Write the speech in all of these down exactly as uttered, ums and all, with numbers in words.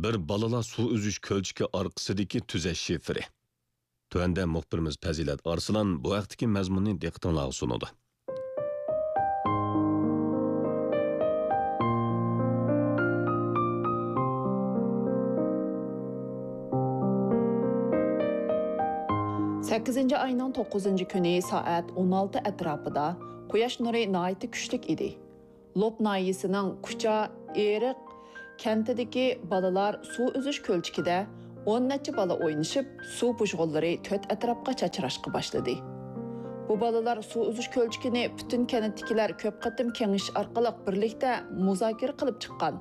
بىر بالىلار سۇ ئۈزۈش كۆلچىكى ئارقىسىدىكى تۈزەش شىفىرى. تۆۋەندە مۇخبىرىمىز پەزىلەت ئارسلان بۇ ھەقتىكى مەزمۇننى دىققىتىڭلارغا سۇنىدۇ. سەككىزىنچى ئاينىڭ توققۇزىنچى كۈنى سائەت ئون ئالتە ئەتراپىدا قۇياش نۇرى ناھايىتى كۈچلۈك ئىدى. لوپ ناھىيەسىنىڭ كۇچا ئېرىق كەنتىدىكى بالىلار سۇ ئۈزۈش كۆلچىكىدە ئون نەچچە بالا ئوينىشىپ، سۇ بۇژغۇنلىرى تۆت ئەتراپقا چاچراشقا باشلىدى. بۇ بالىلار سۇ ئۈزۈش كۆلچىكىنى پۈتۈن كەنتتىكىلەر كۆپ قېتىم كېڭىشىش ئارقىلىق بىرلىكتە مۇزاكىرە قىلىپ چىققان.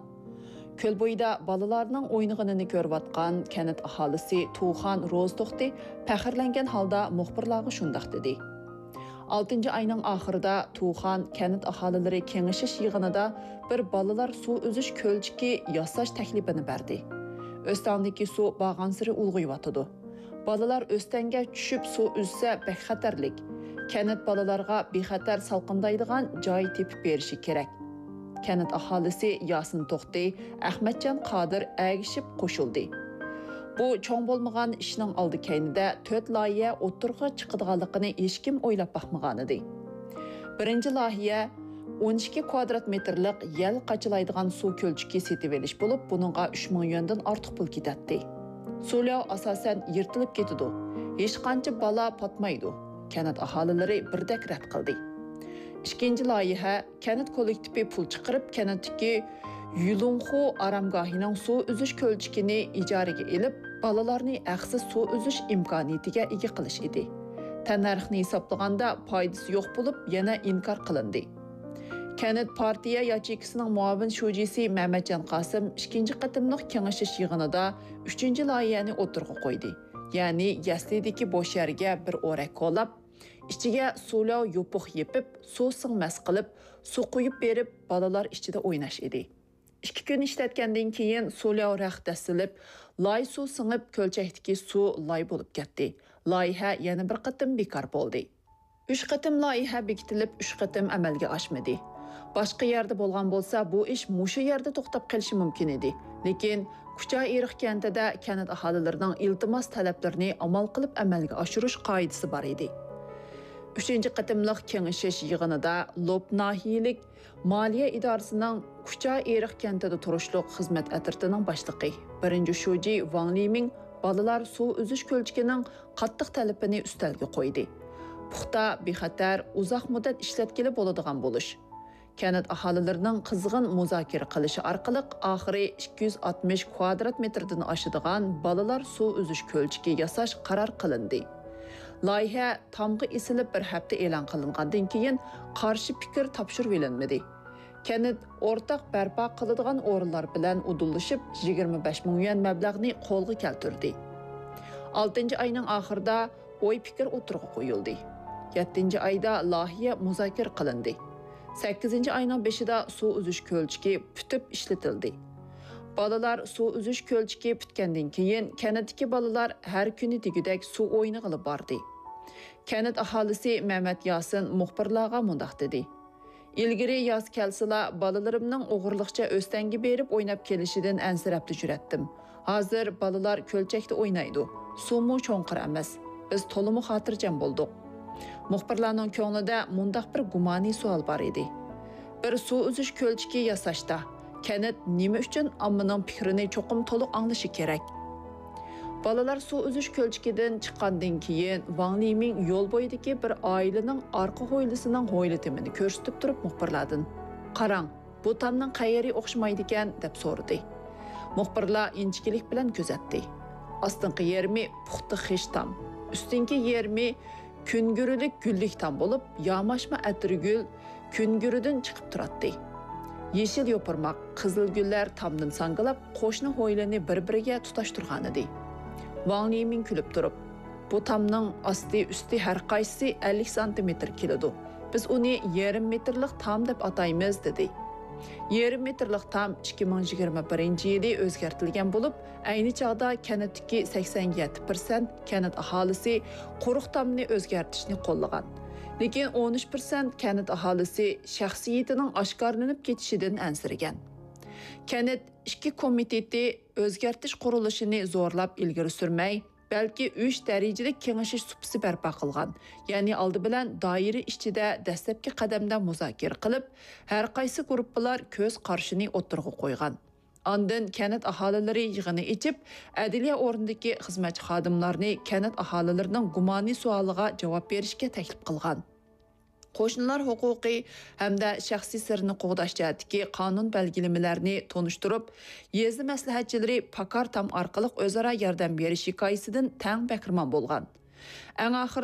كۆل بويىدا بالىلارنىڭ ئوينىغىنىنى كۆرۈۋاتقان كەنت ئاھالىسى تۇخان روزتوختى پەخىرلەنگەن ھالدا مۇخبىرلارغا شۇنداق دېدى. ئالتىنچى ئاينىڭ ئاخىرىدا تۇخان كەنت ئاھالىلىرى كېڭىشىش يىغىنىدا بىر بالىلار سۇ ئۈزۈش كۆلچىكى ياساش تەكلىپىنى بەردى. ئۆستەڭدىكى سۇ بارغانسېرى ئۇلغىيىۋاتىدۇ. بالىلار ئۆستەڭگە چۈشۈپ سۇ ئۈزسە بەك خەتەرلىك. كەنت بالىلارغا بىخەتەر سالقىندايدىغان جاي تېپىپ بېرىشى كېرەك. كەنت ئاھالىسى ياسىن توختى، ئەخمەتجان قادىر ئەگىشىپ قوشۇلدى. بۇ چوڭ بولمىغان ئىشنىڭ ئالدى كەينىدە تۆت لايىھە ئوتتۇرىغا چىقىدىغانلىقىنى ھېچكىم ئويلاپ باقمىغانىدى. بىرىنچى لايىھە ئون ئىككى كۋادرات مېتىرلىق يەل قاچىلايدىغان سۇ كۆلچىكى سېتىۋېلىش بولۇپ، بۇنىڭغا ئۈچ مىڭ يۈەندىن ئارتۇق پۇل كېتەتتى. سۇلياۋ ئاساسەن يىرتىلىپ كېتىدۇ، ھېچقانچە بالا پاتمايدۇ، كەنت ئاھالىلىرى بىردەك رەت قىلدى. ئىككىنچى لايىھە كەنت كوللېكتىپى پۇل چىقىرىپ، كەنتتىكى يۇلۇڭخۇ ئارامگاھىنىڭ سۇ ئۈزۈش كۆلچىكىنى ئىجارىگە ئېلىپ، بالىلارنى ھەقسىز سۇ ئۈزۈش ئىمكانىيىتىگە ئىگە قىلىش ئىدى. تەننەرخنى ھېسابلىغاندا پايدىسى يوق بولۇپ، يەنە ئىنكار قىلىندى. كەنت پارتىيە ياچېيكىسىنىڭ مۇئاۋىن شۇجىسى مەمەتجان قاسىم ئىككىنچى قېتىملىق كېڭىشىش يىغىنىدا ئۈچىنچى لايىھەنى ئوتتۇرىغا قويدى. يەنى يەسلىدىكى بوش يەرگە بىر ئورەك كولاپ، ئىچىگە سۇلياۋ يوپۇق يېپىپ، سۇ سىڭمەس قىلىپ، سۇ قۇيۇپ بېرىپ، بالىلار ئىچىدە ئويناش ئىدى. ئىككى كۈن ئىشلەتكەندىن كېيىن سۇلياۋ رەخت دەسسىلىپ، لاي سۇ سىڭىپ، كۆلچەكتىكى سۇ لاي بولۇپ كەتتى. لايىھە يەنە بىر قېتىم بىكار بولدى. ئۈچ قېتىم لايىھە بېكىتىلىپ، ئۈچ قېتىم ئەمەلگە ئاشمىدى. باشقا يەردە بولغان بولسا، بۇ ئىش مۇشۇ يەردە توختاپ قېلىشى مۇمكىن ئىدى. لېكىن كۇچا ئېرىق كەنتىدە كەنت ئاھالىلىرىنىڭ ئىلتىماس تەلەپلىرىنى ئامال قىلىپ ئەمەلگە ئاشۇرۇش قائىدىسى بار ئىدى. ئۈچىنچى قېتىملىق كېڭىشىش يىغىنىدا لوپ ناھىيەلىك مالىيە ئىدارىسىنىڭ كۇچا ئېرىق كەنتىدە تۇرۇشلۇق خىزمەت ئەترىتىنىڭ باشلىقى، بىرىنچى شۇجى ۋاڭ لىمىڭ بالىلار سۇ ئۈزۈش كۆلچىكىنىڭ قاتتىق تەلىپىنى ئۈستەلگە قويدى. پۇختا، بىخەتەر، ئۇزاق مۇددەت ئىشلەتكىلى بولىدىغان بولۇش. كەنت ئاھالىلىرىنىڭ قىزغىن مۇزاكىرە قىلىشى ئارقىلىق ئاخىرى ئىككى يۈز ئاتمىش كۋادرات مېتىردىن ئاشىدىغان بالىلار سۇ ئۈزۈش كۆلچىكى ياساش قارار قىلىندى. لايىھە تامغا ئېسىلىپ بىر ھەپتە ئېلان قىلىنغاندىن كېيىن قارشى پىكىر تاپشۇرۇۋېلىنمىدى. كەنت ئورتاق بەرپا قىلىدىغان ئورۇنلار بىلەن ئۇدۇللىشىپ، يىگىرمە بەش مىڭ يۈەن مەبلەغنى قولغا كەلتۈردى. ئالتىنچى ئاينىڭ ئاخىرىدا ئوي پىكىر ئوتتۇرىغا قويۇلدى. يەتتىنچى ئايدا لايىھە مۇزاكىرە قىلىندى. سەككىزىنچى ئاينىڭ بېشىدا سۇ ئۈزۈش كۆلچىكى پۈتۈپ ئىشلىتىلدى. بالىلار سۇ ئۈزۈش كۆلچىكى پۈتكەندىن كېيىن، كەنتتىكى بالىلار ھەر كۈنى دېگۈدەك سۇ ئوينىغىلى باردى. كەنت ئاھالىسى مەمەت ياسىن مۇخبىرلارغا مۇنداق دېدى: ئىلگىرى ياز كەلسىلا، بالىلىرىمنىڭ ئوغرىلىقچە ئۆستەڭگە بېرىپ ئويناپ كېلىشىدىن ئەنسىرەپلا يۈرەتتىم. ھازىر بالىلار كۆلچەكتە ئوينايدۇ. سۇمۇ چوڭقۇر ئەمەس. بىز تولىمۇ خاتىرجەم بولدۇق. مۇخبىرلارنىڭ كۆڭلىدە مۇنداق بىر گۇمانىي سوئال بار ئىدى: بىر سۇ ئۈزۈش كۆلچىكى ياساشتا، كەنت نېمە ئۈچۈن ئاممىنىڭ پىكرىنى چوقۇم تولۇق ئاڭلىشى كېرەك؟ بالىلار سۇ ئۈزۈش كۆلچىكىدىن چىققاندىن كېيىن، ۋاڭ لىمىڭ يول بويىدىكى بىر ئائىلىنىڭ ئارقا ھويلىسىنىڭ ھويلا تېمىنى كۆرسىتىپ تۇرۇپ مۇخبىرلاردىن: «قاراڭ، بۇ تامنىڭ قەيىرى ئوخشىمايدىكەن؟» دەپ سورىدى. مۇخبىرلار ئىنچىكىلىك بىلەن كۆزەتتى. ئاستىنقى يېرىمى پۇختا خىش تام، ئۈستۈنكى يېرىمى كۈنگۈرىلىك گۈللۈك تام بولۇپ، ياماشما ئەتىرگۈل كۈنگۈرىدىن چىقىپ تۇراتتى. يېشىل يوپۇرماق، قىزىل گۈللەر تامدىن ساڭگىلاپ، قوشنا ھويلىنى بىر-بىرىگە تۇتاشتۇرغانىدى. ۋاڭ لىمىڭ كۈلۈپ تۇرۇپ: «بۇ تامنىڭ ئاستى، ئۈستى ھەر قايسىسى ئەللىك سانتىمېتىر كېلىدۇ. بىز ئۇنى يېرىم مېتىرلىق تام دەپ ئاتايمىز» دېدى. يېرىم مېتىرلىق تام ئىككى مىڭ يىگىرمە بىرىنچى يىلى ئۆزگەرتىلگەن بولۇپ، ئەينى چاغدا كەنتتىكى سەكسەن يەتتە پىرسەنت كەنت ئاھالىسى قۇرۇق تامنى ئۆزگەرتىشنى قوللىغان. لېكىن ئون ئۈچ پىرسەنت كەنت ئاھالىسى شەخسىيىتىنىڭ ئاشكارىلىنىپ كېتىشىدىن ئەنسىرىگەن. كەنت ئىچكى كومىتېتى ئۆزگەرتىش قۇرۇلۇشىنى زورلاپ ئىلگىرى سۈرمەي، بەلكى ئۈچ دەرىجىلىك كېڭىشىش سۇپىسى بەرپا قىلغان. يەنى ئالدى بىلەن دائىرە ئىچىدە دەسلەپكى قەدەمدە مۇزاكىرە قىلىپ، ھەر قايسى گۇرۇپپىلار كۆز قارىشىنى ئوتتۇرىغا قويغان. ئاندىن كەنت ئاھالىلىرى يىغىنى ئېچىپ، ئەدلىيە ئورنىدىكى خىزمەتچى خادىملارنى كەنت ئاھالىلىرىنىڭ گۇمانى سوئالىغا جاۋاب بېرىشكە تەكلىپ قىلغان. قوشنىلار ھوقۇقى ھەمدە شەخسىي سىرنى قوغداش جەھەتتىكى قانۇن بەلگىلىمىلەرنى تونۇشتۇرۇپ، يېزا مەسلىھەتچىلىرى پاكار تام ئارقىلىق ئۆزئارا ياردەم بېرىش ھېكايىسىدىن تەڭ بەھرىمەن بولغان. ئەڭ ئاخىرىدا